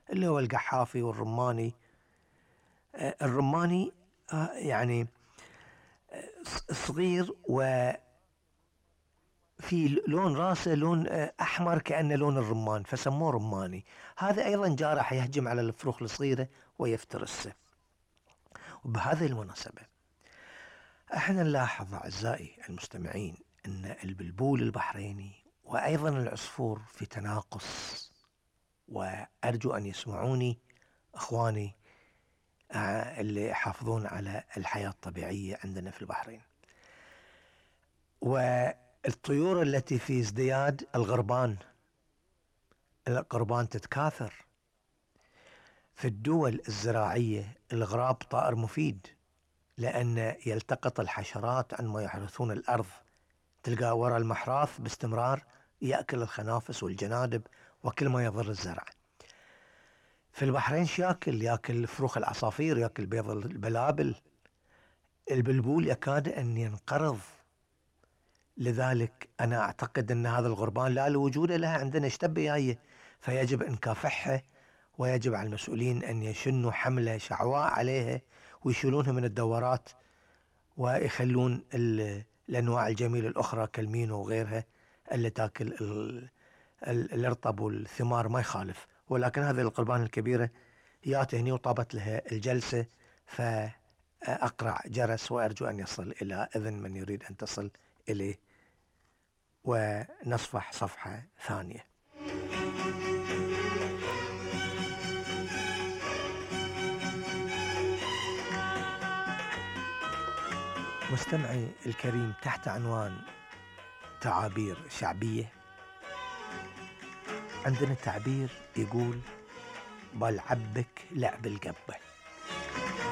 اللي هو القحافي والرماني. الرماني يعني صغير وفي لون راسه لون أحمر كأنه لون الرمان، فسموه رماني. هذا أيضا جارح يهجم على الفروخ الصغيرة ويفترسه. وبهذه المناسبة احنا نلاحظ أعزائي المستمعين أن البلبول البحريني وأيضا العصفور في تناقص، وأرجو أن يسمعوني أخواني اللي يحافظون على الحياة الطبيعية عندنا في البحرين. والطيور التي في ازدياد الغربان تتكاثر. في الدول الزراعية الغراب طائر مفيد، لأن يلتقط الحشرات عندما يحرثون الأرض، تلقى وراء المحراث باستمرار يأكل الخنافس والجنادب وكل ما يضر الزرع. في البحرين يأكل فروخ العصافير، يأكل بيض البلابل. البلبول يكاد أن ينقرض. لذلك أنا أعتقد أن هذا الغربان لا الوجود لها عندنا، اشتبه، فيجب أن نكافحها، ويجب على المسؤولين أن يشنوا حملة شعواء عليها ويشيلونها من الدورات، ويخلون الأنواع الجميلة الأخرى كالمينو وغيرها اللي تأكل الارطب والثمار ما يخالف. ولكن هذه القربان الكبيرة ياتهني وطابت لها الجلسة، فأقرع جرس وأرجو أن يصل إلى إذن من يريد أن تصل إليه ونصفح صفحة ثانية. مستمعي الكريم، تحت عنوان تعابير شعبية عندنا تعبير يقول: بالعبك لعب القبة.